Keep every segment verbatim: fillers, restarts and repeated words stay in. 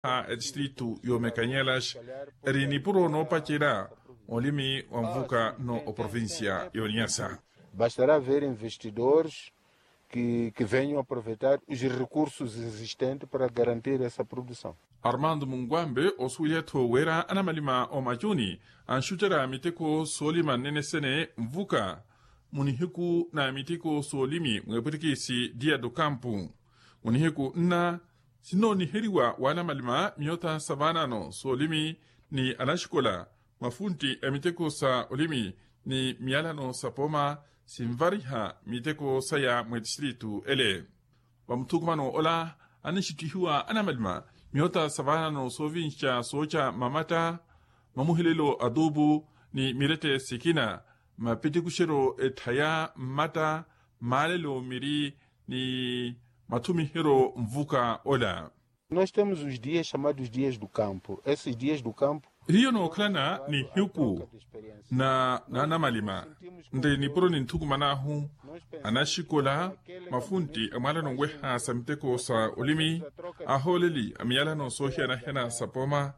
A etistritu y'omekanyelas eri nipuro noopacerya olimi wa nvuka nno oprovincia y'oniasa. Bastará ver investidores que venham aprovetar os recursos existentes para garantir essa produção. Armando munkwambe osuwelya-tho wira anamalima omacuni anxucerya miteko soolima nnene-sene nvuka munihiku na miteko soolimi mwepwitikisi dia do kampu munihiku nna sinnooniheriwa w'anamalima miyota sa vaanano soolimi ni anaxikola mafuntti a miteko sa olimi ni miyalano sa pooma sinvariha miteko saya mw'etistritu ele. Vamuthukumano ola anixittihiwa anamalima miyota sa vaanano soovinxa sooca mamatta mamuhelelo atuupu ni mirette sikina mapitikuxeryo etthaya mmatta maalelo miri ni mathumiheryo nvuka ola. Nós temos os dias chamados dias do campo esses dias do campo. Hiyo nookhalana nihiku na naanamalima nri nipuro ninthukuman'ahu anaxikola mafuntti amwaalano nweha sa miteko sa olimi ahooleli a miyalano soohiyana-hiyana sa pooma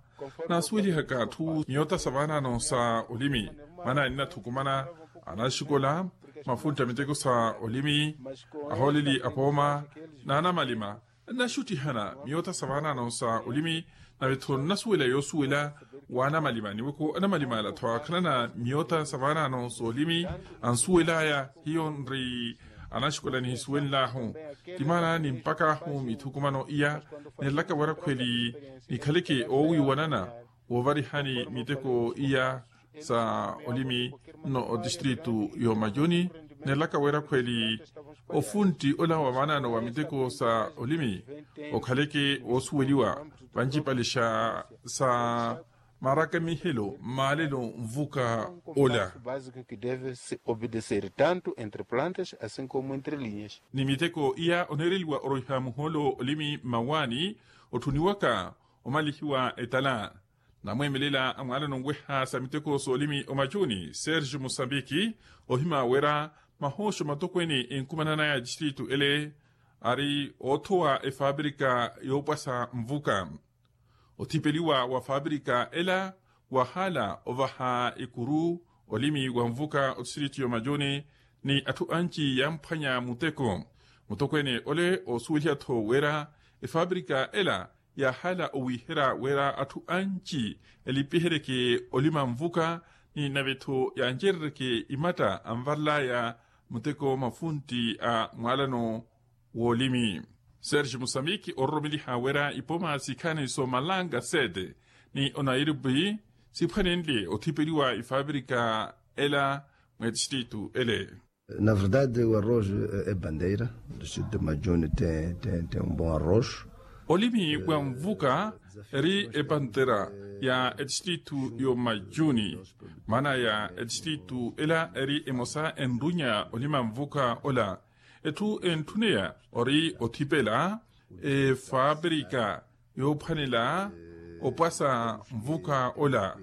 naasuwelihaka atthu miyota sa vaanano sa olimi maana ninathukumana anaxikola mafuntti a miteko sa olimi ahooleli a pooma naanamalima nnaxuttihana miyota sa vaanano sa olimi nave-tho nnasuwela yoosuwela w'anamalima niweko anamalima ala-tho aakhalana miyota sa vaanano soolimi ansuwel'aya hiyo nri anaxikola nihisuwenl'ahu ti maana nimpak'ahu mithukumano iya nirelaka wira khweli nikhaleke oowiiwanana woovarihani miteko iya sa olimi nno otistritu y'omacuni nirelaka wira khweli ofuntti ola wa vaanano wa miteko sa olimi okhaleke woosuweliwa vancipalixa sa marakemihelo mmaalelo nvuka ola. Básico que deve se obedecer tanto entre plantas assim como entre linhas. Ni miteko iya oneereliwa oroiha muhoolo olimi mmawaani otthuniwaka omalihiwa etala namweemelela a mwaalano nweha sa miteko soolimi omacuni serge musambiki ohima wira mahooxo matokweene enkumanan'aya a tistritu ele ari oothowa efaaprika yoopwasa nvuka othipeliwa wa faaprika ela wahaala ovaha ekuru olimi wa nvuka otistritu y'omacuni ni atthu anci yamphwanya muteko mutokweene ole oosuweliha-tho wira efaaprika ela yaahala owiiherya wira atthu anci elipiheryeke olima nvuka ni nave-tho yancereryeke imatta anvarel'aya muteko mafuntti a mwaalano w'olimi serge musambiki ororomeliha wira ipooma sikhaani soomalanga sete ni onairobi siphwanenle othipeliwa ifaapirika ela mw'etistritu ele. Na verdade o arroz e bandeira do distrito de majuni tem um bom arroz. Olimi wa nvuka eri epantera ya etistritu y'omajuni maana ya etistritu ela eri emosa enrunya olima nvuka ola. Etthu entthuneya ori othipela efaapirika yoophwanela opwasa nvuka ola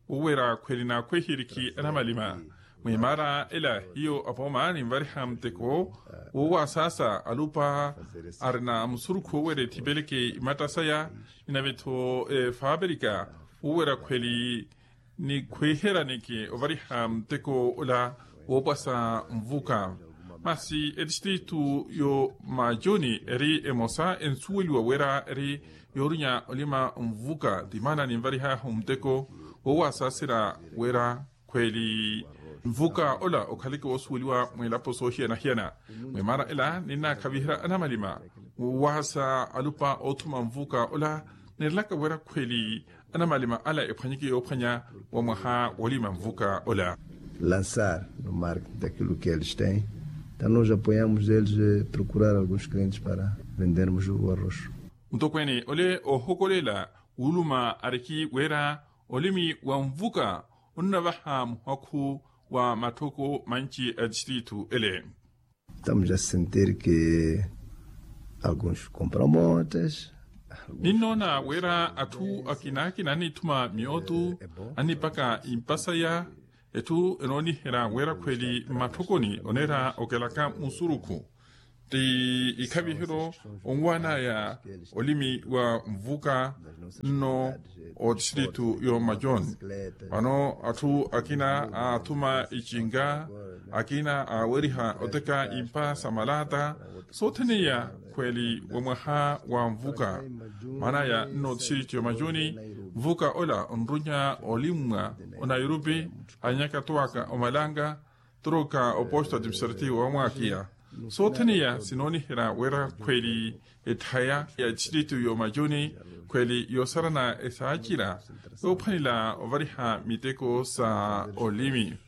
woowera khweli naakhweherikhi anamalima. Mwimaara ela hiyo apooma ninvariha muteko woowasaasa alupa arina musurukhu woowera ethipeleke imatta saya. Inave-tho efaapirika woowera khweli nikhwiiheraneke ovariha muteko ola woopwasa nvuka. Masi etistritu y'omajuni eri emosa ensuweliwa wira eri yoorinya olima nvuka ti maana ninvarih'ahu muteko woowasaaserya wira khweli nvuka ola okhaleke woosuweliwa mwilapo soohiyana-hiyana. Mwimaara ela ninnaakhaviherya anamalima woowasa alupa oothuma nvuka ola. Nirelaka wira khweli anamalima ala ephwanyeke yoophwanya wa mwaha woolima nvuka ola. Lançar no marketing daquilo que eles têm. Então nós apoiamos eles procurar alguns clientes para vendermos o arroz. Mutokweene ole oohokolela wuuluma ariki wira olimi wa nvuka onnavaha muhakhu wa matthoko manci a tistritu ele. Estamos a sentir que alguns compramotas. Ninnoona wira atthu akinaakina annithuma miyootu annipaka impasaya. Etthu enooniherya wira khweli mmatthokoni oneera okelaka musurukhu. ti ikhavihiru onwanaya olimi wa nvuka nno otistiritu yo majoni. Vano atthu akina aathuma icinga, akina aaweriha oteka impa sa malata sothene iya khweli wa mwaha wa nvuka. Maana ya nno otistiritu yo majoni nvuka ola onrunya olimmwa onairupi anyaka twaka omalanga toroka oposto administrativo wa mwakiya. Sothene iya sinooniherya wira khweli etthaya ya distritu yo majuni khweli yoosarana esaacira yoophwanela ovariha miteko sa olimi.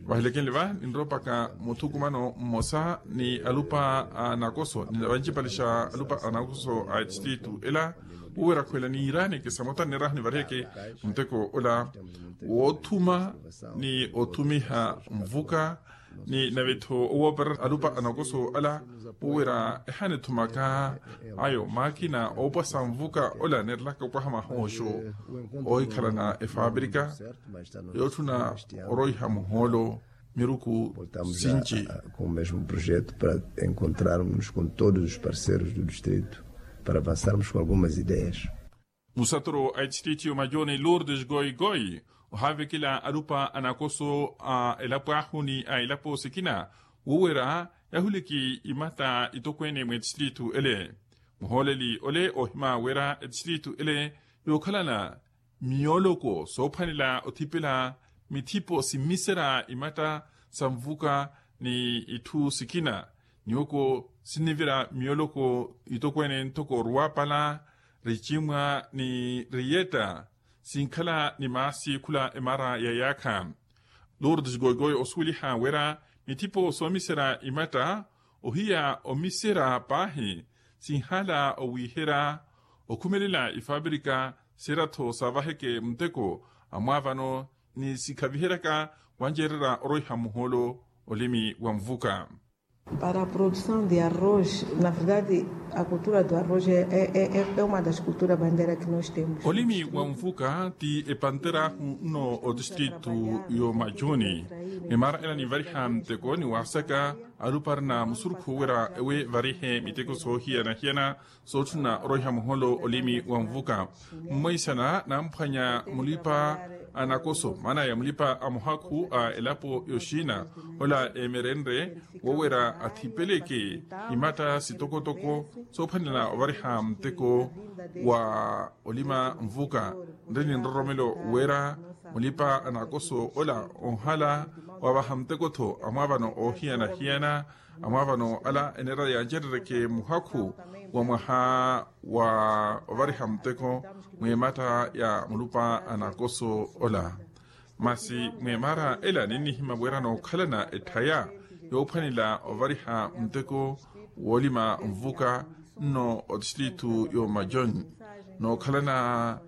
Vahilekenle va ninroopaka muthukumano mmosa ni alupa a nakoso ni vancipalixa alupa a nakoso a distritu ela wowera khwela niiraaneke samota nneeraha nivariheke muteko ola woothuma ni othumiha nvuka ni navetho owoopera alupa a nakoso ala wowera ehanethumaka ayo maakina oopwasa nvuka ola neerelaka opwaha mahooxo oohikhalana efaaprika yootthuna oroiha muhoolo miruku sinci. Com o mesmo projeto para encontrarmos com todos os parceiros do distrito para avançarmos com algumas ideias. Musatoro a distrito majoni lourdes goigoi ohaavekela alupa a nakoso a elapo ahu ni a elapo sikina wowera yahuliki imata itokweene mwe distrito ele. Muhooleli ole ohima wira distrito ele yookhalana miyooloko soophwanela othipela mithipo simmisera imatta sa nvuka ni itthu sikina niwoko sinnivira miyooloko itokweene ntoko ruwapala richimwa ni riyetta sinkhala ni maasi khula emara ya yaakha. Lourdes goigoi osuweliha wira mithipo soomisera imatta ohiya omisera paahi sinhala owiihera okhumelela ifaapirika sira-tho saavaheke muteko amwaavano ni sikhaviheryaka wanceererya oroiha muhoolo olimi wa nvuka. Para a produção de arroz na verdade a cultura do arroz é uma das culturas bandeira que nós temos. Olimi wa nvuka ti epantera ahu nno otistritu yo majuni. Emara ela ninvariha muteko ni waasaka alupa arina musurukhu wira ewe varihe miteko soohiyana-hiyana sootthuna oroiha muhoolo olimi wa nvuka. Mmweisana namphwanya mulipa a nakoso maana ya mulipa a muhakhu a elapo yoxina ola emerenre wowera athipeleke imatta sitokotoko soophwanela ovariha muteko wa olima nvuka. Nri ni nroromelo wira mulipa a nakoso ola onhala wavaha muteko-tho amwaavano oohiyana-hiyana amwaavano ala eneera yancerereke muhakhu wa mwaha wa ovariha muteko mwimatta ya mulupa a nakoso ola. Masi mwemara ela ninnihima wira nookhalana etthaya yoophwanela ovariha muteko woolima nvuka nno otistritu yo majoni nookhalana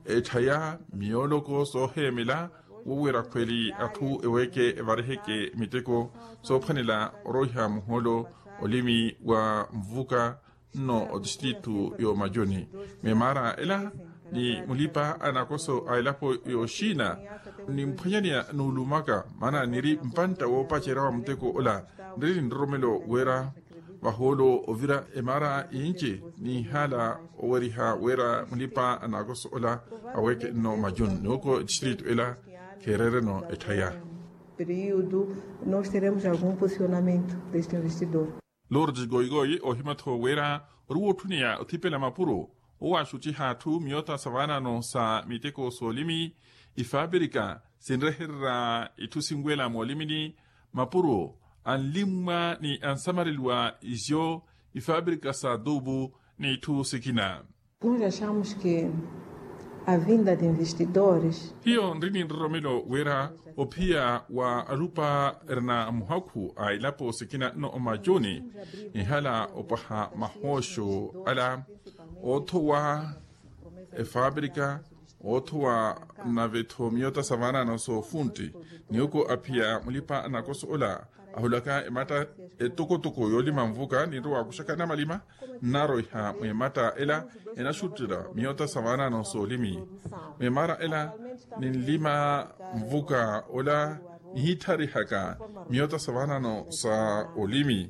etthaya miyooloko sooheemela wowera khweli atthu eweeke evariheke miteko soophwanela oroiha muhoolo olimi wa nvuka nno otistritu yo majoni. Memara ela ni mulipa a nakoso a elapo yoxina nimphwanyaneya nuulumaka maana niri mpantta woopacerya wa muteko ola nri ni nroromelo wira vahoolo ovira emara inci ninhala oweriha wira mulipa a nakoso ola aweeke nno majuni niwoko distritu ela kheerereno etthaya. Período nós teremos algum posicionamento deste investidor. Lourdes goigoi ohima-tho wira ori wootthuneya othipela mapuro owaaxuttiha atthu miyota sa vaanano sa miteko soolimi ifaapirika sinrehererya itthu sinwela moolimini mapuro anlimmwa ni ansamareliwa izo ifaapirika sa adubu ni itthu sikina. Nós achamos que a vinda de investidores. Hiyo nri ni nroromelo wira ophiya wa alupa erina muhakhu a elapo sikina nno omajuni nihala opwaha mahooxo ala oothowa efaapirika oothowa nave-tho miyota sa vaanano soofuntti niwoko aphiya mulipa a nakoso ola ahulaka ematta etokotoko yoolima nvuka ninrowa waakuxaka namalima nnaroiha mwematta ela enaxuttela miyota sa vaanano soolimi. Mwemara ela ninlima nvuka ola Nihittharihaka miyota sa vaanano sa olimi,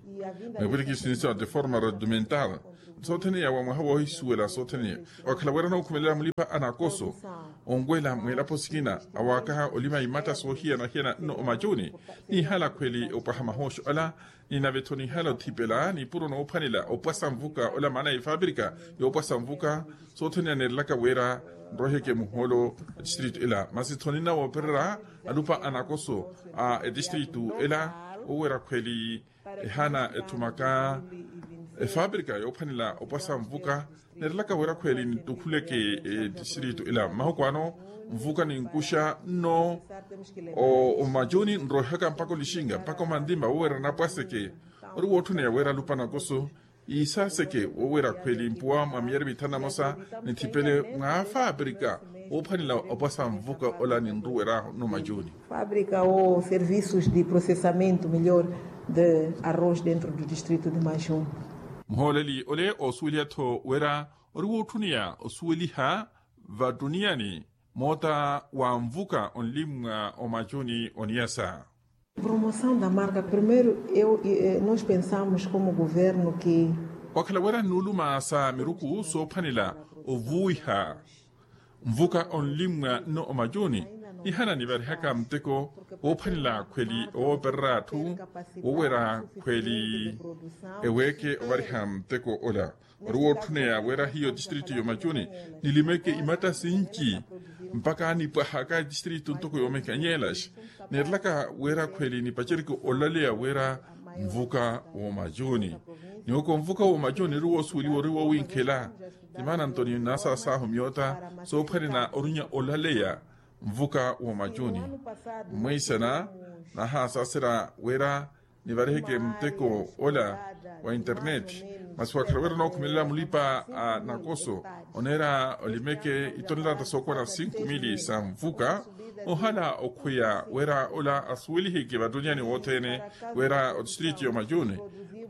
mepwirikisi ni sa de forma rudimental, sothene ya wa mwaha woohisuwela sothene ya. Wakhala wira nookhumelela mulipa anakoso onwela mwilapo sikina, awaakaha olima imatta soohiyana-hiyana nno omacuni, nihala khweli opwaha mahooxo ala, ni nave-tho nihala othipela nipuro noophwanela opwasa nvuka ola maana ya efapirika yoopwasa nvuka. Sothene aneerelaka wira nroheke muholo a distritu ela masi-tho ninna woopererya alupa anakoso a etistritu ela, woowira khweli ehaana ethumaka efapirika yoophwanela opwasa nvuka. Neerelaka wira khweli nitukhuleke etistritu ela mmahuku ano, nvuka ninkuxa nno omacuni nroihaka mpaka olixinga mpaka omantima woowira napwaseke. Ori wootthuniya wira alupa anakoso iisaseke woowira khweli mpuwa mwa miyari mithanu na mosa nithipele mwa fapirika woophwanela opwasa nvuka ola ninruweryahu nno macuni. Fábrica ou serviços de processamento melhor de arroz dentro do distrito de Majuni. Muhooleli ole oosuweliha-tho wira ori wootthuniya osuweliha vatuniyani moota wa nvuka onlimmwa omacuni oniyasa. Promoção da marca primeiro eu nós pensamos como governo que. Wakhala wira nnuuluma sa miruku soophwanela ovuwiha nvuka onlimmwa nno omacuni, nihala nivarihaka muteko woophwanela khweli owoopererya atthu woowira khweli eweeke ovariha muteko ola. Ori wootthuneya wira hiyo distritu y'omacuni nilimeke imatta sinci mpaka nipwahaka distritu ntoko yoomekanyelaxa. Neerelaka wira khweli nipacereke olaleya wira nvuka w'omacuni niwoko nvuka w'omacuni ori woosuweliwa ori woowinkhela. Timaana ntoni nasaasaahu myoota soophwanela orunya olaleya nvuka w'omacuni mwiisana nahaasaasera wira nivariheke muteko ola wa internet. Masi wakhala wira nookhumelela mulipa a nakoso oneera olimeke itonelata sookola sinku mili sa nvuka ohala okhweya wira ola asuweliheke vatuniyani wothene wira otistriti y'omacuni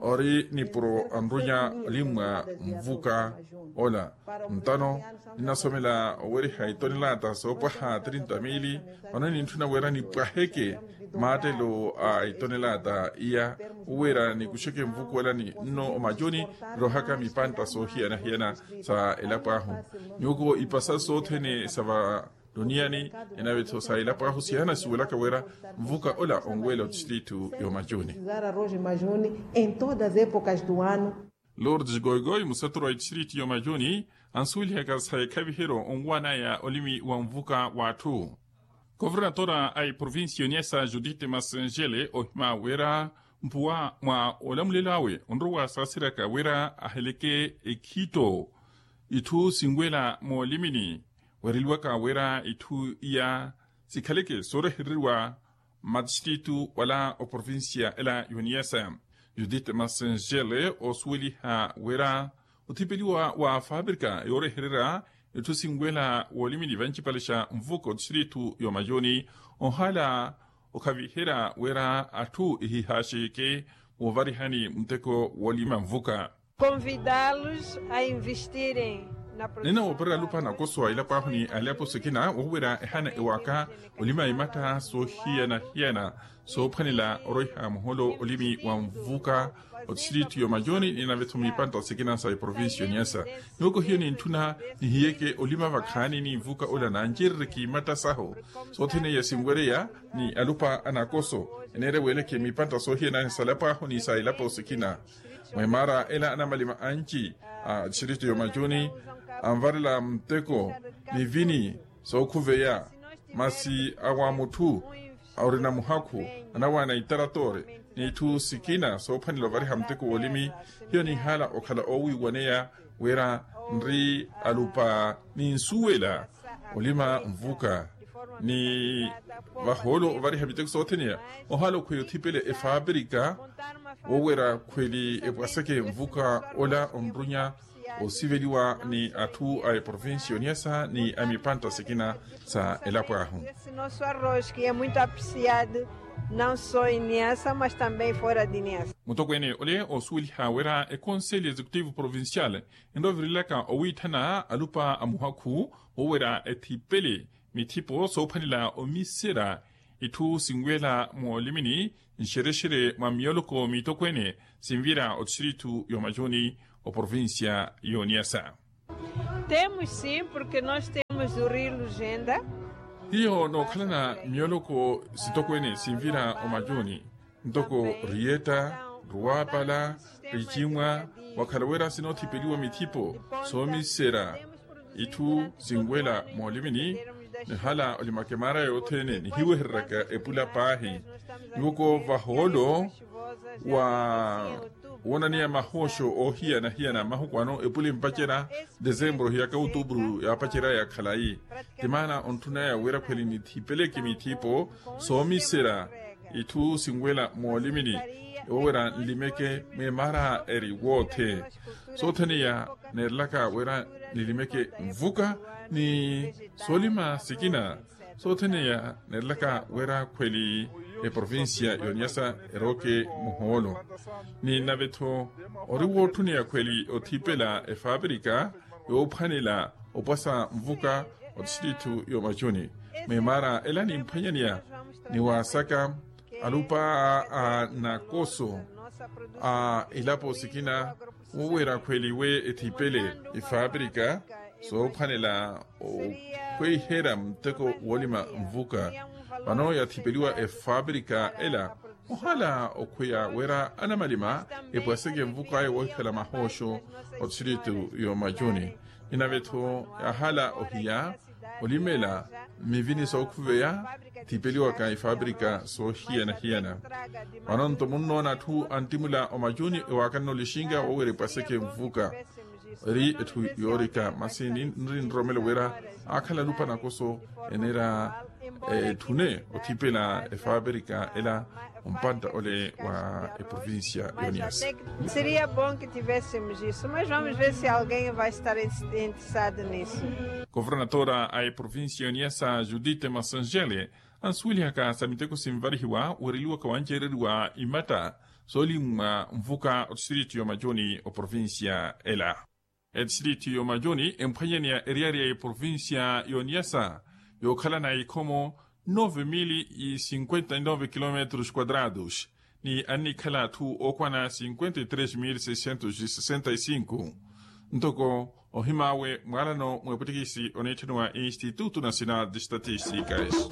ori nipuro anrunya olimmwa nvuka ola. Ntano ninasomela oweriha itonelata soopwaha trinta mili vano nintthuna wira nipwaheke maattelo a itonelata iya owira nikuxeke nvukuwelani nno omacuni nirohaka mipantta soohiyana-hiyana sa elapo ahu. Nyuuko ipasa sothene sa vatuniyani enave-tho sa elapo ahu sihanasiwelaka wira nvuka ola onwela otistrito y'omacuni. Lourdes goigoi museturu a itistriti y'omacuni ansuwelihaka sa ekhaviheryo onwanaya olimi wa nvuka w'atthu. Kovernatora a eprovincia y'oniasa judith masengele ohima wira mpuwa mwa olamulelo awe onrowa saaseryaka wira aheleke ekhitto itthu sinwela moolimini weereliwaka wira itthu iya sikhaleke soorehereriwa mmatistrito wala oprovincia ela y'oniasa. Judith masengele oosuweliha wira othipeliwa wa fapirika yoorehererya itthu sinwela woolimini vancipale xa nvuka otistrito y'omayoni ohala okhaviherya wira atthu ehihaxeke woovarihani muteko woolima nvuka. Convidá-los a investirem na produção. Nina woopererya alupa anakoso a elapo ahu ni alepo sikina woowerya ehana ewaka olima imatta soohiyana-hiyana soophwanela oroiha muholo olimi wa nvuka otistrito y'omayoni ninavetho miipantta sikina sa eprovincia y'oniasa. Nyoko hiyo nintthuna nihiyeke olima vakhaani ni nvuka ola nancerereke imatta sahu sothene iya sinwereya ni alupa anakoso eneerya weeleke miipantta soohiyana sa elapo ahu ni sa elapo sikina. Mweemara ela anamalima anci a distrito y'omayoni anvarela muteko ni vini sookhuveya masi awa mutthu orina muhakhu anawaana itaratore n'itthu sikina soophwanela ovariha muteko w'olimi. Hiyo nihala okhala oowiiwaneya wira nri alupa ninsuwela olima nvuka ni vahoolo ovariha miteko sothene iya ohala okhweya othipele efapirika woowerya khweli epwaseke nvuka ola onrunya osiveliwa ni atthu a eprovincia y'oniasa ni a mipantta sikina sa elapo ahu. Esse nosso arroz que é muito apreciado não só em Niassa mas também fora de Niassa. Mutokweene ole oosuweliha wira ekonseli executivo provincial enrovirilaka owiitthana alupa a muhakhu woowerya ethipele mithipo soophwanela omiserya itthu sinwela moolimini nxerexere mwa miyoloko miitokweene sinvira otistritu y'omacuni oprovincia y'oniyasa. Temos sim porque nós temos o rio lugenda. Hiyo nookhalana miyoloko sitokweene sinvira omacuni ntoko riyetta, ruwapala, richimwa, wakhala wira sinoothipeliwa mithipo soomisera itthu sinwela moolimini. Nihala olimaka emaara yothene nihiwehereraka epula paahi. Nyuwoko vahoolo wa woonaniya mahooxo oohiyana-hiyana mahuku ano epula empacerya desembro hiyaka outubru yaapacerya ya khalayi. Ti maana ontthunaya wira khweli nithipeleke mithipo soomisera itthu sinwela moolimini. Owo wira nlimeke mweemara eri woothe soothene ya neerelaka wira nilimeke nvuka ni soolima sikina soothene ya neerelaka wira khweli eprovincia y'oniyasa erooke muhoolo. Ni nave-tho ori wootthuniya khweli othipela efapirika yoophwanela opwasa nvuka otistritu y'omacuni. Mwimaara ela nimphwanyaniya ni waasaka alupa a nakoso a ilapo sikina wowira khweli we ethipele efapirika soophwanela okhweiherya muteko woolima nvuka. Vano yathipeliwa efapirika ela ohala okhweya wira anamalima epwaseke nvuka ayo woohikhala mahooxo otistritu y'omacuni. Ninavetho yahala ohiya olimela mmivini sookhuveya thipeliwaka ifaapirika soohiyana-hiyana. Vano-nto munnoona atthu antimula omacuni ewaakanna olixinga wowira epwaseke nvuka eri etthu yoorika masi nri nroromelo wira aakhala alupa nakoso eneera etthune othipela efaapirika ela ompantta ole wa eprovincia y'oniyasa. Seria bom que tivéssemos isso mas vamos ver se alguém vai estar interessado nisso. Kofornatora a eprovincia y'oniyasa judite masanjele ansuwelihaka sa miteko sinvarihiwa weereliwaka wanceereriwa imatta soolimmwa nvuka otistritu y'omacuni oprovincia ela. Etistritu y'omacuni emphwanyaneya eriyari ya eprovincia y'oniyasa yookhalana ikhomo nove mili cinquenta e nove kilometros quadrados ni annikhala atthu ookwana cinquenta e tres mili seiscentos e sessenta e cinco. Ntoko ohimaawe mwaalano mwepwitikisi oneetthaniwa instituto nacional de estatisticas.